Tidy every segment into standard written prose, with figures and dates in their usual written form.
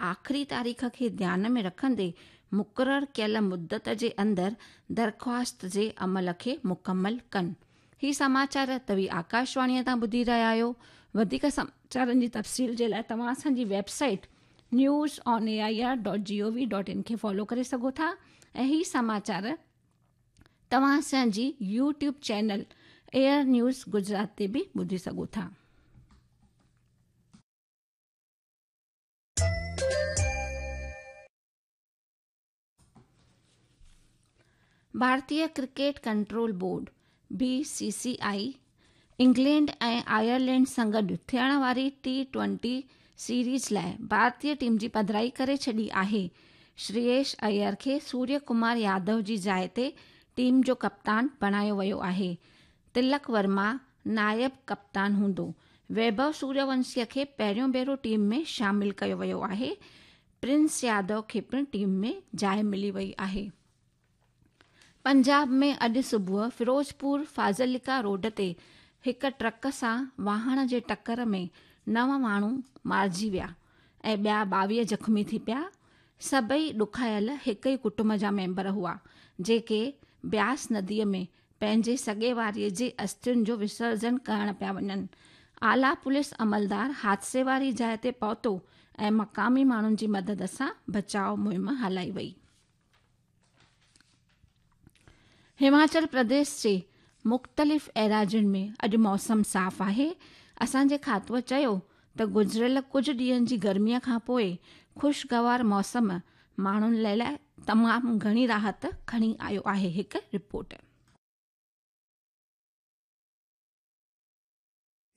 आख़िरी तारीख़ खे ध्यान में रखंदे मुक़ररु कयल मुदत जे अंदरि दरख़्वास्त जे अमल खे मुकमल कनि। ही समाचार तव्हीं आकाशवाणीअ तां ॿुधी रहिया आहियो। वधीक समाचारनि जी तफ़सील जे लाइ तव्हां असांजी website newsonair.gov.in खे फॉलो करे सघो था ऐं ही समाचार तव्हां असांजी YouTube channel AIR news Gujarat ते बि ॿुधी सघो था। भारतीय cricket control board BCCI England ऐं आयरलैंड सां गॾु थियण वारी T20 series लाइ भारतीय टीम जी पधराई करे छॾी आहे। श्रेयस अय्यर खे सूर्य कुमार यादव जी जाइ ते टीम जो कप्तान बणायो वियो आहे। तिलक वर्मा नायब कप्तान हूंदो। वैभव सूर्यवंशीअ खे पहिरियों भेरो टीम में शामिल कयो वियो आहे। प्रिंस यादव खे पिणु टीम में जाइ मिली वई आहे। पंजाब में अॼु सुबुह फिरोज़पुर फाज़िल्का रोड ते हिकु ट्रक सां वाहण जे टकर में 9 माण्हू मारिजी विया ऐं ॿिया 22 ज़ख़्मी थी पिया। सभई ॾुखायल हिकु ई कुटुंब जा मेंबर हुआ, जेके ब्यास नदीअ में पंहिंजे सॻे वारीअ जे अस्थियुनि जो विसर्जन करण पिया वञनि। आला पुलिस अमलदार हादसे वारी जाइ ते पहुतो ऐं मक़ामी माण्हुनि जी मदद सां बचाव मुहिम हलाई वई। हिमाचल प्रदेश जे मुख़्तलिफ़ एराजियुनि में अॼु मौसम साफ़ आहे। असांजे खातूअ चयो त गुज़िरियल कुझु ॾींहंनि जी गर्मीअ खां पोइ ख़ुशगवार मौसम माण्हुनि लाइ तमामु घणी राहत खणी आयो आहे। हिकु रिपोर्ट।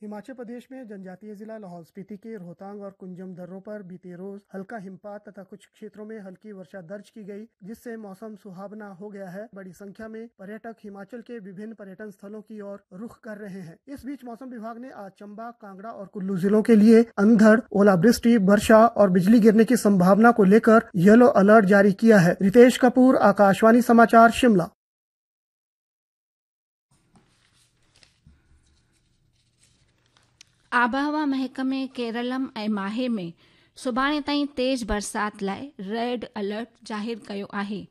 हिमाचल प्रदेश में जनजातीय जिला लाहौल स्पीति के रोहतांग और कुंजम दर्रों पर बीते रोज हल्का हिमपात तथा कुछ क्षेत्रों में हल्की वर्षा दर्ज की गई, जिससे मौसम सुहावना हो गया है। बड़ी संख्या में पर्यटक हिमाचल के विभिन्न पर्यटन स्थलों की ओर रुख कर रहे हैं। इस बीच मौसम विभाग ने आज चंबा, कांगड़ा और कुल्लू जिलों के लिए अंधड़, ओलावृष्टि, वर्षा और बिजली गिरने की संभावना को लेकर येलो अलर्ट जारी किया है। रितेश कपूर, आकाशवाणी समाचार, शिमला। आबहवा महकमे केरलम ऐं माहे में सुभाणे ताईं तेज़ बरसाति लाइ रेड अलर्ट ज़ाहिर कयो आहे।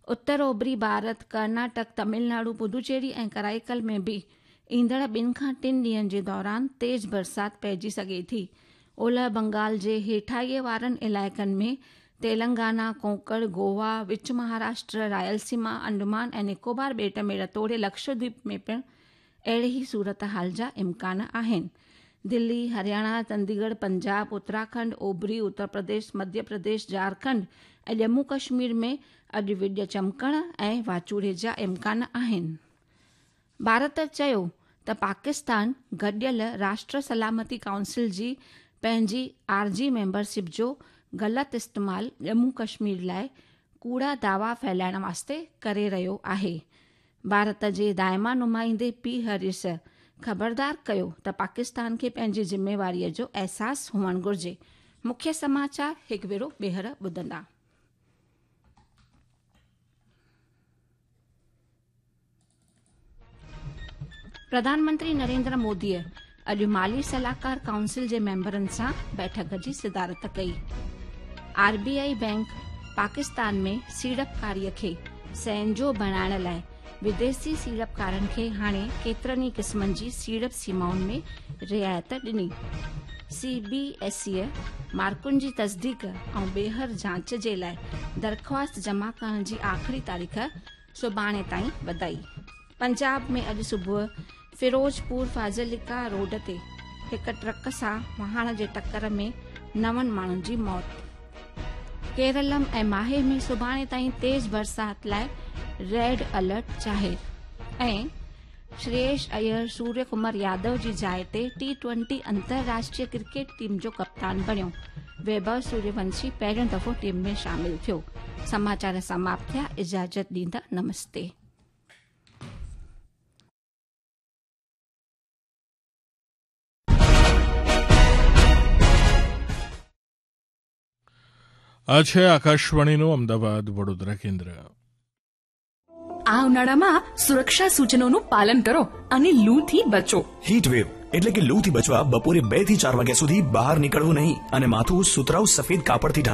उत्तर ओभरी भारत, कर्नाटक, तमिलनाडु, पुदुचेरी ऐं कराईकल में बि ईंदड़ 2 खां 3 ॾींहंनि जे दौरान तेज़ बरसाति पइजी सघे थी। ओलह बंगाल जे हेठाईअ वारनि इलाइक़नि में तेलंगाना, कोंकण, गोवा, विच महाराष्ट्र, रायलसीमा, अंडमान ऐं निकोबार ॿेट में तोड़े लक्षद्वीप में पिणु अहिड़ी ई सूरत हाल जा इम्कान आहिनि। दिल्ली, हरियाणा, चंडीगढ़, पंजाब, उत्तराखंड, ओभरी उत्तर प्रदेश, मध्य प्रदेश, झारखंड ऐं जम्मू कश्मीर में अॼु विڄ चमकण ऐं वाचूड़े जा इम्कान आहिनि। भारत चयो त पाकिस्तान गॾियल राष्ट्र सलामती काउंसिल जी पंहिंजी आरजी मेंबरशिप जो ग़लति इस्तेमालु जम्मू कश्मीर लाइ कूड़ा दावा फैलाइण वास्ते करे रहियो आहे। भारत जे दाइमा नुमाइंदे पी हरीश ख़बरदार कयो त पाकिस्तान खे पंहिंजी ज़िम्मेवारीअ जो अहसासु हुअणु घुरिजे। मुख्य समाचार हिकु भेरो ॿीहर ॿुधंदा। प्रधानमंत्री नरेंद्र मोदीअ अॼु माली सलाहकार काउंसिल जे मेंबरनि सां बैठक जी सदारत कई। आरबीआई बैंक पाकिस्तान में सीड़पकारीअ खे सहंजो बणाइण लाइ विदेशी सीड़पकारनि खे हाणे केतिरनि ई क़िस्मनि जी सीड़प सीमाउनि में रिआयत ॾिनी। सीबीएसई मार्कुनि जी तस्दीक ऐं ॿीहर जांच जे लाइ दरख़्वास्त जमा करण जी आख़िरी तारीख़ सुभाणे ताईं वधाई। पंजाब में अॼु सुबुह फिरोज़पुर फाज़िल्का रोड ते हिकु ट्रक सां वाहण जे टकर में 9 माण्हुनि जी मौत। केरलम ऐं माहे में सुभाणे ताईं तेज़ बरसाति लाइ रेड अलर्ट ज़ाहिर। ऐं श्रेयस अय्यर सूर्य कुमार यादव जी जाइ ते T20 अंतर्राष्ट्रीय क्रिकेट टीम जो कप्तान बणियो। वैभव सूर्यवंशी पहिरियों दफ़ो टीम में शामिल थियो। समाचार समाप्त थिया। इजाज़त ॾींदा। नमस्ते। આ છે આકાશવાણીનું અમદાવાદ વડોદરા કેન્દ્ર. આ ઉનાળામાં સુરક્ષા સૂચનોનું પાલન કરો અને લૂથી બચો. હીટ વેવ એટલે કે લૂથી બચવા બપોરે 2 થી 4 વાગ્યા સુધી બહાર નીકળવું નહીં અને માથું સુતરાઉ સફેદ કાપડથી